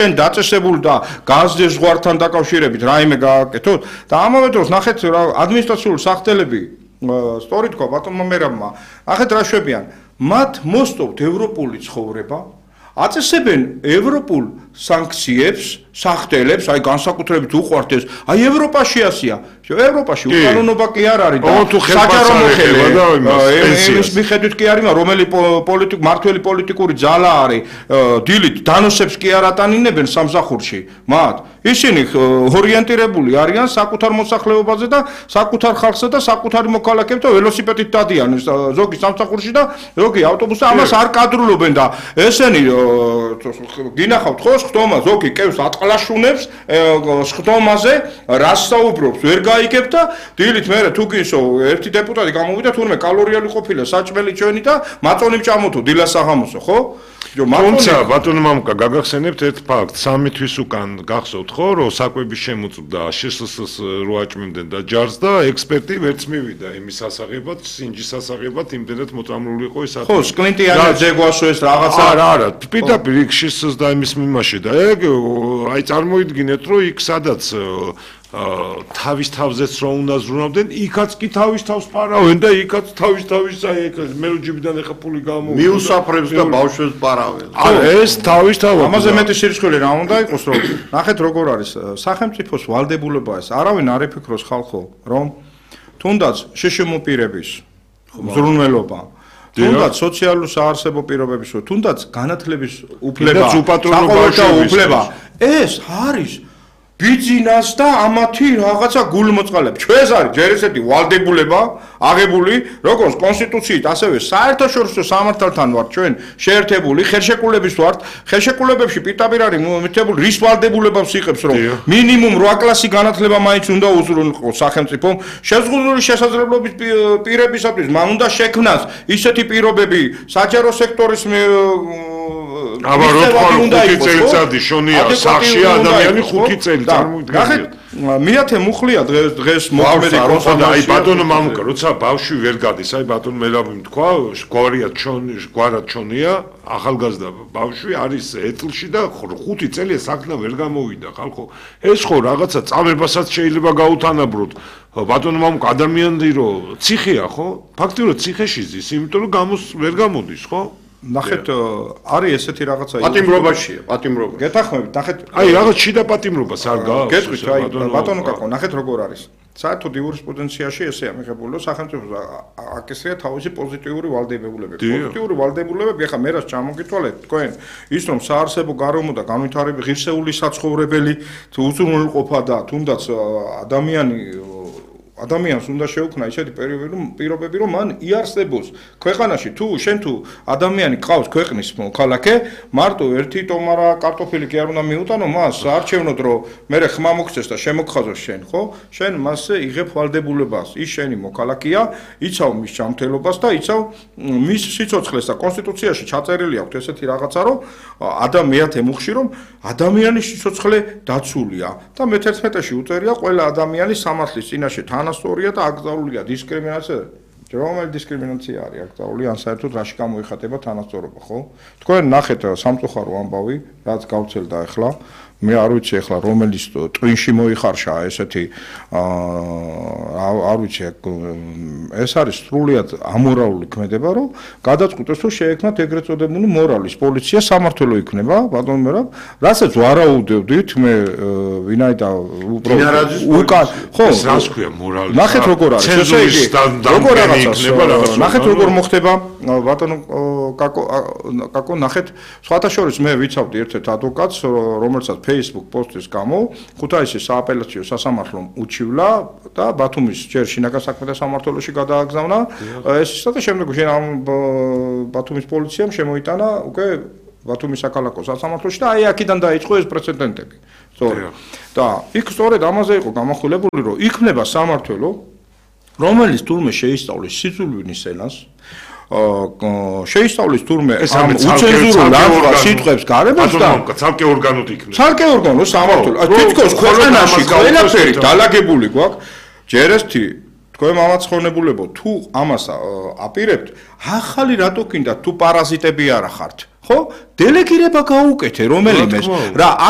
დაწესებული და გაზრდის ზღვართან დაკავშირებით რაიმე გააკეთოთ და ამავე დროს ნახეთ რა ადმინისტრაციული სახტელები სწორი თქვა ბატონმა მერაბმა ნახეთ რა შვებიან მათ მოსწოვთ ევროპული ცხოვრება აწესებენ ევროპულ სანქციებს სახტელებს აი განსაკუთრებით უყვართ ეს აი ევროპაში ასია ევროპაში უკანონობა კი არ არის და საჯარო მოხელე ეს მიხედვით კი არის რომელი მართველი პოლიტიკური ძალა არის დილით დანოსებს კი არ ატანინებენ სამსახურში მათ ისინი ორიენტირებული არიან საკუთარ მოსახლეობაზე და საკუთარ ხალხზე და საკუთარი მოქალაქეებს და ველოსიპედით დადიან ზოგი სამსახურში და ზოგი ავტობუსზე ამას არ კადრულობენ და ესენი გინახავთ ხო ხტომა ზოგი კევს ატყლაშუნებს ხტომაზე რას საუბრობს ვერ გაიგებ და დილით მერე თუ გინსო ერთი დეპუტატი გამოვიდა თურმე კალორიალი ყოფილა საჭმელი ჩვენი და მაწონი მჭამოთო დილას საღამოსო ხო თუმცა ბატონო მამუკა გაგახსენებთ ერთ ფაქტს 3 თვის უკან გახსოვთ ხო რომ საკვების შემოწმდა შსს რო აჭმევდნენ და ჯარს და ექსპერტი ვერც მივიდა იმის სასაღებად სინჯის სასაღებად იმდენად მოწამლული იყო ეს ხო სკლინტიანი ჯეგვასო ეს რაღაცა არა პირდაპირ იქ შსს და იმის მიმაში და ეგ აი წარმოიდგინეთ რომ იქ სადაც თავის თავზეც რო უნდა ზრუნავდნენ, იქაც კი თავის თავს პარავენ და იქაც თავის აი მელოჯიბიდან ეხა ფული გამოვიდა. მიუსაფრებს და ბავშვებს პარავენ. ეს თავის თავად. ამაზე მეტი სირცხვილე რა უნდა იყოს, რომ ნახეთ როგორ არის სახელმწიფოს ვალდებულება ეს. არავინ არ იფიქროს ხალხო, რომ თუნდაც შეშემოპირების ზრუნველობა თუნდაც სოციალურ საარსებო პირობების, თუნდაც განათლების უფლება, ეს არის ბიძინას და ამათი რაღაცა გულმოწყალებ. ჩვენს არის ჯერ ესეთი ვალდებულება აღებული, როგორც კონსტიტუციით, ასევე საერთაშორისო სამართალთან ვართ ჩვენ შეერთებული, ხელშეკრულების ვართ. ხელშეკრულებებში პირდაპირ არის მითებული რის ვალდებულებებს იღებს, რომ მინიმუმ 8 კლასი განათლება მაინც უნდა უზრუნველყოს სახელმწიფომ. შეზღუდული შესაძლებლობის პირებისათვის მან უნდა შექმნას ისეთი პირობები საჯარო სექტორის აბა 5 წელიწადი შონია სახში ადამიანი 5 წელი წარმოიდგინეთ მეათე მუხლია დღეს მოქმედი კონსოლიდაცია აი ბატონო მამუკა როცა ბავშვი ვერ გადის აი ბატონო მელაბიმ თქვა გვარად ჩონია ახალგაზრდა ბავშვი არის ეტლში და 5 წელია საქმე ვერ გამოვიდა ხალხო ეს ხო რაღაცა წამებასაც შეიძლება გაუთანაბროთ ბატონო მამუკა ადამიანი რომ ციხეა ხო ფაქტიურად ციხეში ზის იმიტომ რომ ვერ გამოდის ხო ნახეთ არის ესეთი რაღაცა პატიმრობაშია პატიმრობა გეთახმებით ნახეთ აი რაღაც შიდა პატიმრობას არ გააქვს გეტყვით აი ბატონო კაკო ნახეთ როგორ არის საერთოდ იურისპრუდენციაში ესეა მიღებული რომ სახელმწიფოს აკისრია თავისი პოზიტიური ვალდებულებები პოზიტიური ვალდებულებები ახლა მე რას ჩამოგითვალეთ თქვენ ის რომ საარსებო გარემო და განვითარების ღირსეული საცხოვრებელი უზრუნველყოფა და თუნდაც ადამიანს უნდა შეუქმნა ისეთი პირობები, რომ მან იარსებოს ქვეყანაში თუ შენ თუ ადამიანი ყავს ქვეყნის მოქალაქე, მარტო ერთი ტომარა კარტოფილი კი არ უნდა მიუტანო მას, არჩევნოდ რომ მე ხმა მოგცეს და შემოგხაზოს შენ, ხო? შენ მასზე იღებ ვალდებულებას. ის შენი მოქალაქეა, იცავ მის ჯანმრთელობას და იცავ მის სიცოცხლეს და კონსტიტუციაში ჩაწერილი აქვს ესეთი რაღაცა, რომ მეათე მუხში რომ ადამიანის სიცოცხლე დაცულია და მე-11-ში უწერია ყველა ადამიანის სამართლის წინაშე თანასწორია და აკრძალულია დისკრიმინაცია. რომელი დისკრიმინაცია არის აკრძალული ან საერთოდ რაში გამოიხატება თანასწორობა, ხო? თქვენ ნახეთ სამწუხარო ამბავი, რაც გავცელდა ახლა. მე არ ვიცი ახლა რომელის ტვინში მოიხარშა ესეთი არ ვიცი ეს არის სრულიად ამორალური ქმედება რომ გადაწყვიტეს რომ შეექმნათ ეგრეთ წოდებული მორალის პოლიცია სამართლო იქნება ბატონო მერაბ რასაც ვარაუდევდით მე ვინაიდან უკან ხო რას ქვია მორალი ნახეთ როგორ არის ესე იგი როგორ იქნება რაღაც ნახეთ როგორ მოხდება ბატონო კაკო ნახეთ სხვათა შორის მე ვიცავდი ერთ-ერთ ადვოკატს რომელსაც Facebook პოსტის გამო ქუთაისის სააპელაციო სასამართლომ უჩივლა და ბათუმის ჯერ შინაგან საქმეთა სამმართველოში გადააგზავნა ეს და შემდეგ ბათუმის პოლიციამ შემოიტანა უკვე ბათუმის საქალაქო სასამართლოში და აი აქედან დაიწყო ეს პრეცედენტები სწორედ და იქ სწორედ ამაზე იყო გამახვილებული რომ იქნება სამმართველო რომელიც თურმე შეისწავლის სიძულვილის ენას შეისწავლის თურმე ამ უცენზურულ სიტყვებს გარემოს და ცალკე ორგანოდ იქნება. ცალკე ორგანო სამართლო. თითქოს ქვეყანაში ყველაფერი დალაგებული გვაქვს. ჯერესთი თქვენ მამაცხონებულებო თუ ამას აპირებთ, ახალი რატო კიდათ თუ პარაზიტები არა ხართ. ხო? დელეგირება გაუკეთე რომელიმეს რა თქმა უნდა. რა აქ